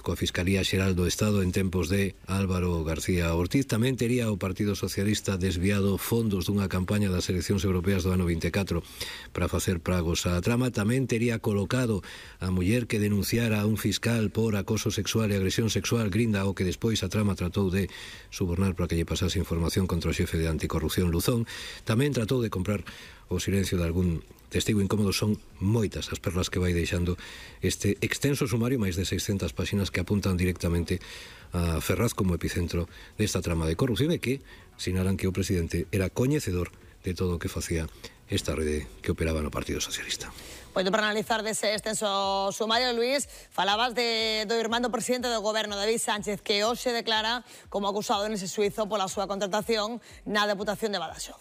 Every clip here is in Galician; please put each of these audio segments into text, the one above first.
coa Fiscalía Xeral do Estado en tempos de Álvaro García Ortiz. Tamén tería o Partido Socialista desviado fondos dunha campaña das eleccións europeas do ano 24 para facer pragos á trama. Tamén tería colocado a muller que denunciara a un fiscal por acoso sexual e agresión sexual, Grinda, o que despois a trama tratou de subornar para que lle pasase información contra o xefe de anticorrupción, Luzón. Tamén tratou de comprar o silencio de algún testigo incómodo. Son moitas as perlas que vai deixando este extenso sumario, máis de 600 páxinas, que apuntan directamente a Ferraz como epicentro desta trama de corrupción e que sinalan que o presidente era coñecedor de todo o que facía esta rede que operaba no Partido Socialista. Bueno, para analizar dese extenso sumario, Luís, falabas do irmán do presidente do goberno, David Sánchez, que hoxe declara como acusado nese xuizo pola súa contratación na Deputación de Badaxoz.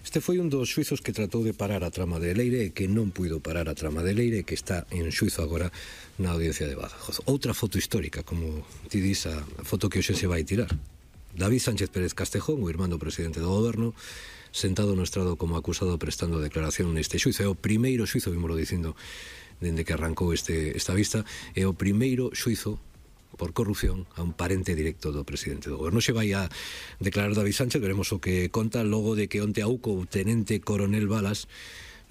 Este foi un dos xuizos que tratou de parar a trama de Leire e que non puido parar a trama de Leire e que está en xuizo agora na Audiencia de Badajoz. Outra foto histórica, como ti dis, a foto que hoxe se vai tirar. David Sánchez Pérez Castejón, o irmán do presidente do goberno, sentado no estrado como acusado prestando declaración neste xuizo. É o primeiro xuizo, vímolo dicindo, dende que arrancou esta vista, é o primeiro xuizo por corrupción a un parente directo do presidente do goberno. Se vai a declarar David Sánchez, veremos o que conta logo de que onte auco o tenente coronel Balas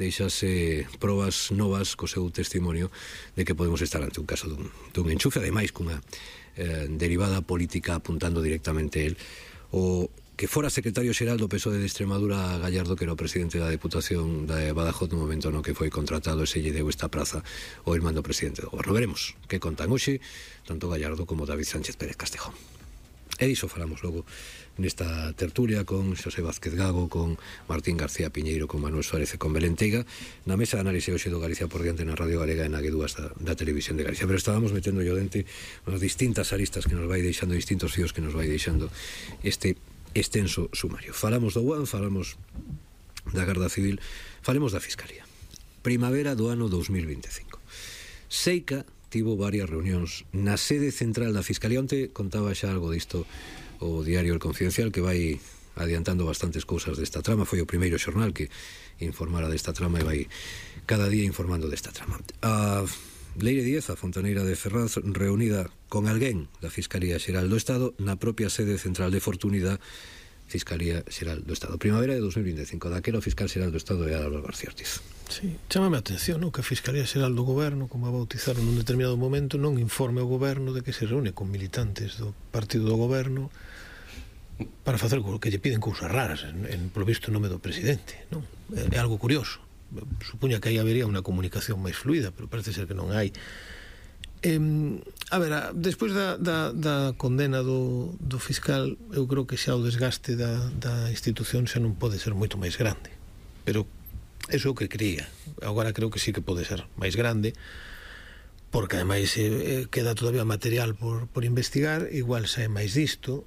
deixase probas novas co seu testimonio de que podemos estar ante un caso dun enchufe, ademais cunha derivada política apuntando directamente el. O que fora secretario xeral do PSOE de Extremadura, Gallardo, que era o presidente da Deputación de Badajoz no momento no que foi contratado e se lle deu esta praza o irmán do presidente do goberno. Veremos que contan hoxe tanto Gallardo como David Sánchez Pérez Castejón. E diso falamos logo nesta tertulia con Xosé Vázquez Gago, con Martín García Piñeiro, con Manuel Suárez e con Belén Teiga, na mesa de análise hoxe do Galicia por diante na Radio Galega e na G2 da Televisión de Galicia. Pero estábamos metendo yo dente as distintas aristas que nos vai deixando, distintos fíos que nos vai deixando este extenso sumario. Falamos do UAN, falamos da Garda Civil, falemos da Fiscalía. Primavera do ano 2025. Seica tivo varias reunións na sede central da Fiscalía. Onte contaba xa algo disto o diario El Confidencial, que vai adiantando bastantes cousas desta trama. Foi o primeiro xornal que informara desta trama e vai cada día informando desta trama. A Leire Díez, a fontaneira de Ferraz, reunida con alguén da Fiscalía Xeral do Estado na propia sede central de Fortúnida, Fiscalía Xeral do Estado. Primavera de 2025, daquela o fiscal xeral do Estado é Álvaro García Ortiz. Sí, chámame a atención, que a Fiscalía Xeral do Goberno, como a bautizaron nun determinado momento, non informe ao Goberno de que se reúne con militantes do partido do Goberno para facer o que lle piden cousas raras, polo visto, nome do presidente, non? É algo curioso. Supuña que aí habería unha comunicación máis fluida, pero parece ser que non hai. A ver, despois da condena do fiscal, eu creo que xa o desgaste da institución xa non pode ser moito máis grande, pero eso é o que creía. Agora creo que sí que pode ser máis grande, porque ademais queda todavía material por investigar. Igual xa é máis disto,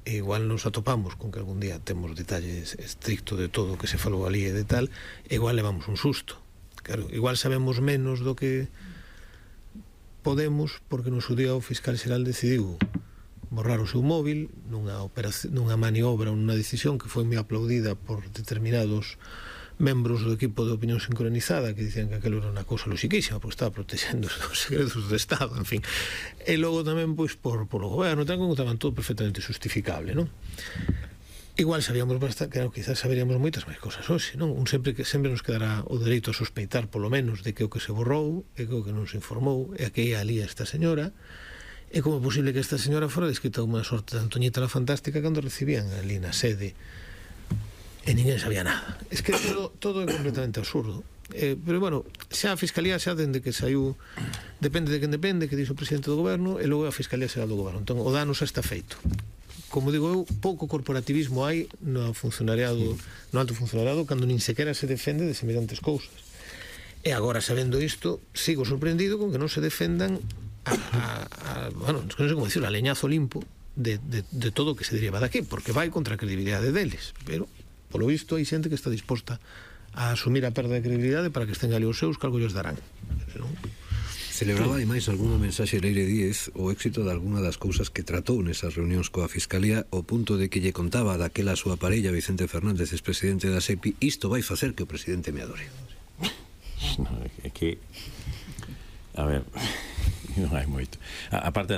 e igual nos atopamos con que algún día temos detalles estrictos de todo o que se falou ali e de tal, e igual levamos un susto. Claro, igual sabemos menos do que podemos, porque no seu día o fiscal xeral decidiu borrar o seu móvil nunha maniobra, nunha decisión que foi moi aplaudida por determinados membros do equipo de opinión sincronizada, que dicían que aquilo era unha cousa loxiquísima porque estaba protexendo os segredos do Estado, en fin. E logo tamén, pois, polo goberno, como estaban todo perfectamente justificable, non? Igual sabíamos bastante, claro, quizás saberíamos moitas máis cosas hoxe, non? Sempre nos quedará o dereito a sospeitar, polo menos, de que o que se borrou, e que o que non se informou, e a que ia ali esta señora, e como é posible que esta señora fora descrita unha sorte de Antoñita la Fantástica cando recibían ali na sede e ninguén sabía nada. Es que todo é completamente absurdo. Pero, bueno, xa a Fiscalía, xa dende que saiu, depende de quen depende, que dixo o presidente do goberno, e logo a Fiscalía Xeral do Goberno. Entón, o dano xa está feito. Como digo eu, pouco corporativismo hai no alto funcionariado, cando nin sequera se defende de semellantes cousas. E agora, sabendo isto, sigo sorprendido con que non se defendan bueno, non sei como dicirlo, a leñazo limpo de todo o que se deriva daqui, porque vai contra a credibilidade deles. Pero polo visto hai xente que está disposta a asumir a perda de credibilidade para que estén ali os seus, que algo lles darán. Celebraba ademais algunha mensaxe Leire Díez o éxito de algunha das cousas que tratou nesas reunións coa Fiscalía, ao punto de que lle contaba daquela a súa parella Vicente Fernández, expresidente da SEPI: isto vai facer que o presidente me adore. No, é que, a ver, non hai moito. A parte,